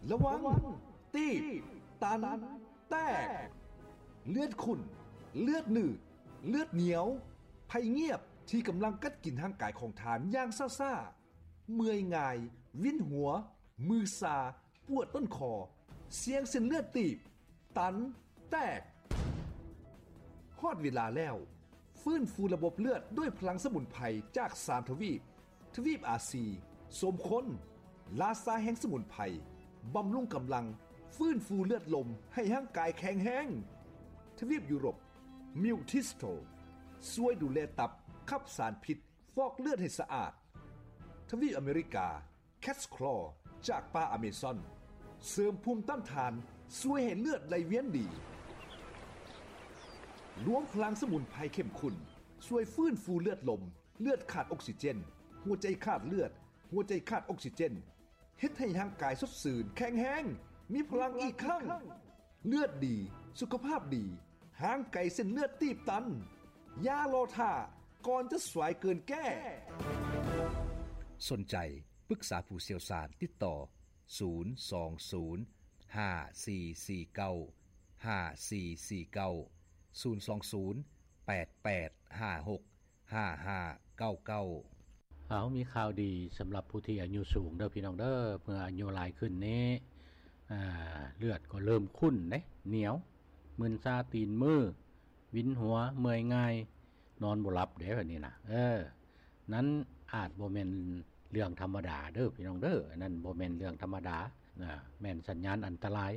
ລະວັງ ຕີບ ຕັນ ແຕກ ເລືອດຂຸ້ນ ເລືອດໜືດ ເລືອດໜຽວ ໄພງຽບທີ່ກຳລັງກັດກິນຮ່າງກາຍຂອງທ່ານຢ່າງຊ້າໆ, ເມື່ອຍງ່າຍ, ວິນຫົວ, ມືຊາ, ປວດຕົ້ນຄໍ, ສ່ຽງເສັ້ນເລືອດຕີບ, ຕັນ, ແຕກ. ຮອດເວລາແລ້ວ, ຟື້ນຟູລະບົບເລືອດດ້ວຍພະລັງສະໝຸນໄພຈາກສາມທະວີບ, ທະວີບອາຊີ, ສົມຄົນ, ລາຊາແຫ່ງສະໝຸນໄພ, ບຳລຸງກຳລັງ, ຟື້ນຟູເລືອດລົມໃຫ້ຮ່າງກາຍແຂງແຮງ. ທະວີບຢູໂຣບ, ມິວທິສໂຕ, ຊ່ວຍດູແລຕັບ, ຂັບສານພິດ, ຟອກເລືອດໃຫ້ສະອາດ. ທະວີບອາເມລິກາ, ແຄດສະຄລໍຈາກປ່າອາເມຊອນ ເສີມພູມຕ້ານທານ, ຊ່ວຍໃຫ້ເລືອດໄຫຼວຽນດີ. ລວມພະລັງສະໝຸນໄພເຂັ້ມຂຸ້ນ ຊ່ວຍຟື້ນຟູເລືອດລົມ, ເລືອດຂາດອົກຊີເຈນ, ຫົວໃຈຂາດເລືອດ, ຫົວໃຈຂາດອົກຊີເຈນ, ເຮັດໃຫ້ຮ່າງກາຍສົດຊື່ນ, ແຂງແຮງ, ມີພະລັງອີກຄັ້ງ. ເລືອດດີ, ສຸຂະພາບດີ, ຫ່າງໄກເສັ້ນເລືອດຕີບຕັນ. ຢ່າລໍຖ້າ, ກ່ອນຈະສວຍເກີນແກ້. ສົນໃຈປຶກສາຜູ້ຊ່ຽວຊານ, ຕິດຕໍ່ ສູນສອງສູນ ຫ້າສີ່ສີ່ເກົ້າ ຫ້າສີ່ສີ່ເກົ້າ, ສູນສອງສູນ ແປດແປດຫ້າຫົກ ຫ້າຫ້າເກົ້າເກົ້າ. ເຮົາມີຂ່າວດີສຳລັບຜູ້ທີ່ອາຍຸສູງເດີພີ່ນ້ອງເດີ, ເມື່ອອາຍຸຫຼາຍຂຶ້ນນີ້ ອ່າ ເລືອດກໍເລີ່ມຂຸ້ນເດ້, ໜຽວ, ມຶນຊາຕີນມື, ວິນຫົວ, ເມື່ອຍງ່າຍ, ນອນບໍ່ຫຼັບເດ້ ແບບນີ້ນະ. ເອີ ນັ້ນອາດບໍ່ແມ່ນເລື່ອງທຳມະດາເດີພີ່ນ້ອງເດີ, ອັນນັ້ນບໍ່ແມ່ນເລື່ອງທຳມະດານະ, ແມ່ນສັນຍານອັນຕະລາຍ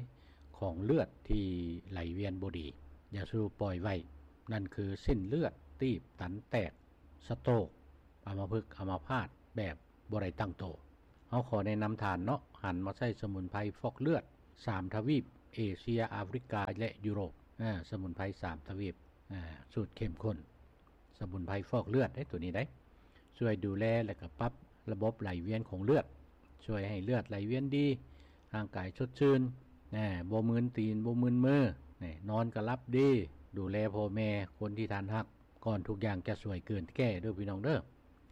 ຂອງເລືອດທີ່ໄຫຼວຽນບໍ່ດີ. ຢ່າສູ່ປ່ອຍໄວ້, ນັ້ນຄືເສັ້ນເລືອດຕີບຕັນແຕກ, ສະໂຕກ, ອຳມະພຶກ, ອຳມະພາດແບບບໍ່ໄດ້ຕັ້ງໂຕ. ເຮົາຂໍແນະນຳທ່ານເນາະ, ຫັນມາໃຊ້ສະໝຸນໄພຟອກເລືອດສາມທະວີບ, ເອເຊຍ, ອາຟຣິກາ ແລະ ຢູໂຣບ. ອາ ສະໝຸນໄພສາມທະວີບ, ອາ ສູດເຂັ້ມຂຸ້ນ. ສະໝຸນໄພຟອກເລືອດເດ້ ໂຕນີ້ໄດ໋ ຊ່ວຍດູແລ ແລະ ກະປັບລະບົບໄຫຼວຽນຂອງເລືອດ, ຊ່ວຍໃຫ້ເລືອດໄຫຼວຽນດີ, ຮ່າງກາຍສົດຊື່ນ, ແນ່ ບໍ່ມຶນຕີນ, ບໍ່ມຶນມື, ແນ່ ນອນກະຫຼັບດີ. ດູແລພໍ່ແມ່, ຄົນທີ່ທ່ານຮັກ, ກ່ອນທຸກຢ່າງຈະສວຍເກີນແກ້ເດີພີ່ນ້ອງເດີ,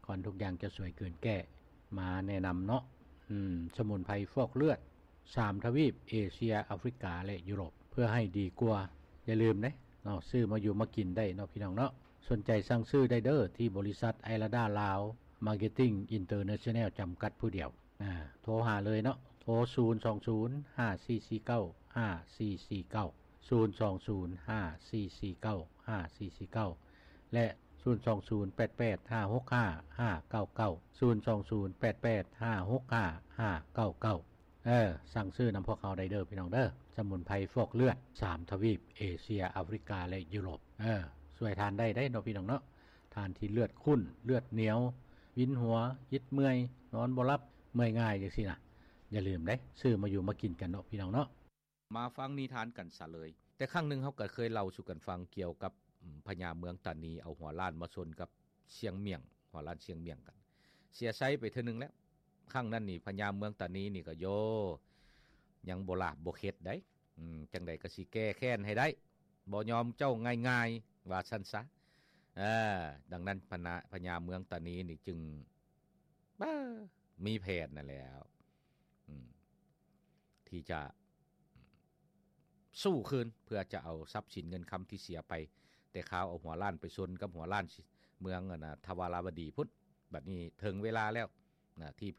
ກ່ອນທຸກຢ່າງຈະສວຍເກີນແກ້. ມາແນະນຳເນາະ, ອືມ ສະໝຸນໄພຟອກເລືອດ ສາມທະວີບ, ເອເຊຍ, ອາຟຣິກາ ແລະ ຢູໂຣບ ເພື່ອໃຫ້ດີກວ່າ. ຢ່າລືມເດ້ເນາະ, ຊື້ມາຢູ່ມາກິນໄດ້ເນາະ ພີ່ນ້ອງເນາະ. ສົນໃຈສັ່ງຊື້ໄດ້ເດີ ທີ່ບໍລິສັດໄອລາດາລາວ ມາເກັດຕິງ ອິນເຕີເນຊັນແນວ ຈຳກັດຜູ້ດຽວ. ອາ ໂທຫາເລີຍເນາະ, ໂທ ສູນສອງສູນ ຫ້າສີ່ສີ່ເກົ້າ ຫ້າສີ່ສີ່ເກົ້າ, ສູນສອງສູນ ຫ້າສີ່ສີ່ເກົ້າ ຫ້າສີ່ສີ່ເກົ້າ ແລະ ສູນສອງສູນ ແປດແປດຫ້າຫົກຫ້າ ຫ້າເກົ້າເກົ້າ, ສູນສອງສູນ ແປດແປດຫ້າຫົກຫ້າ ຫ້າເກົ້າເກົ້າ. ເອີ ສັ່ງຊື້ນຳພວກເຮົາໄດ້ເດີພີ່ນ້ອງເດີ, ສະໝຸນໄພຟອກເລືອດສາມທະວີບ, ເອເຊຍ, ອາຟຣິກາ ແລະ ຢູໂຣບ. ເອີ ຊ່ວຍທ່ານໄດ້ໄດ໋ເນາະ ພີ່ນ້ອງເນາະ, ທ່ານທີ່ເລືອດຂຸ້ນ, ເລືອດໜຽວ, ວິນຫົວ, ຫຍິດເມື່ອຍ, ນອນບໍ່ຫຼັບ, ເມື່ອຍງ່າຍ ຈັ່ງຊີ້ນະ. ຢ່າລືມເດ້, ຊື້ມາຢູ່ມາກິນກັນເນາະ ພີ່ນ້ອງເນາະ. ມາຟັງນິທານກັນຊະເລີຍ. ແຕ່ຄັ້ງໜຶ່ງເຮົາກໍເຄີຍເລົ່າສູ່ກັນຟັງກ່ຽວກັບ ອາ ພະຍາເມືອງຕານີເອົາຫົວລ້ານມາຊົນກັບຊຽງໝ້ຽງ, ຫົວລ້ານຊຽງໝ້ຽງກັນ, ເສຍໄຊໄປເທື່ອໜຶ່ງແລ້ວ. ຄັ້ງນັ້ນນີ້ພະຍາເມືອງຕານີນີ້ກໍ ໂຢ ຍັງບໍ່ລາບບໍ່ເຂັດໃດ໋, ອືມ ຈັ່ງໃດກໍຊິແກ້ແຄ້ນໃຫ້ໄດ້, ບໍ່ຍອມເຈົ້າງ່າຍໆ ວ່າຊັ້ນຊະ. ເອີ ດັ່ງນັ້ນພະນາ ພະຍາເມືອງຕານີນີ້ຈຶ່ງ ເອີ ມີແຜນນັ້ນແຫຼ້ວ ອືມ ທີ່ຈະ ສູ້ຄືນ ເພື່ອຈະເອົາຊັບສິນເງິນຄຳທີ່ເສຍໄປ ແຕ່ຄາວເອົາຫົວລ້ານໄປຊົນກັບຫົວລ້ານເມືອງ ອັນນະ ທະວາລາວະດີພຸ້ນ. ບັດນີ້ເຖິງເວລາແລ້ວນະ ທີ່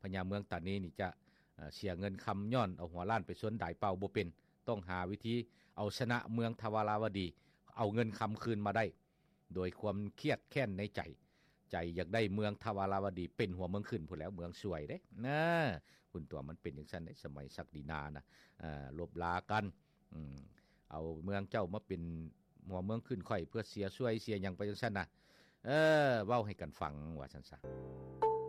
ພະຍາເມືອງຕານີນີ້ຈະ ເອີ ເສຍເງິນຄຳ ຍ້ອນເອົາຫົວລ້ານໄປຊົນດາຍເປົ່າບໍ່ເປັນ, ຕ້ອງຫາວິທີເອົາຊະນະເມືອງທະວາລາວະດີ, ເອົາເງິນຄຳຄືນມາໄດ້. ໂດຍຄວາມຄຽດແຄ້ນໃນໃຈ, ໃຈຢາກໄດ້ເມືອງທະວາລາວະດີເປັນຫົວເມືອງຂຶ້ນພຸ້ນແຫຼ້ວ, ເມືອງສວຍເດ້ນະ. ພຸ້ນຕົວະ ມັນເປັນຈັ່ງຊັ້ນເດ້, ສະໄໝສັກດິນານະ, ເອີ ລົບລາກັນ, ອືມ ເອົາເມືອງເຈົ້າມາເປັນຫົວເມືອງຂຶ້ນຂ້ອຍ ເພື່ອເສຍສວຍເສຍຫຍັງໄປຈັ່ງຊັ້ນນະ. ເອີ ເວົ້າໃຫ້ກັນຟັງວ່າຊັ້ນຊະ.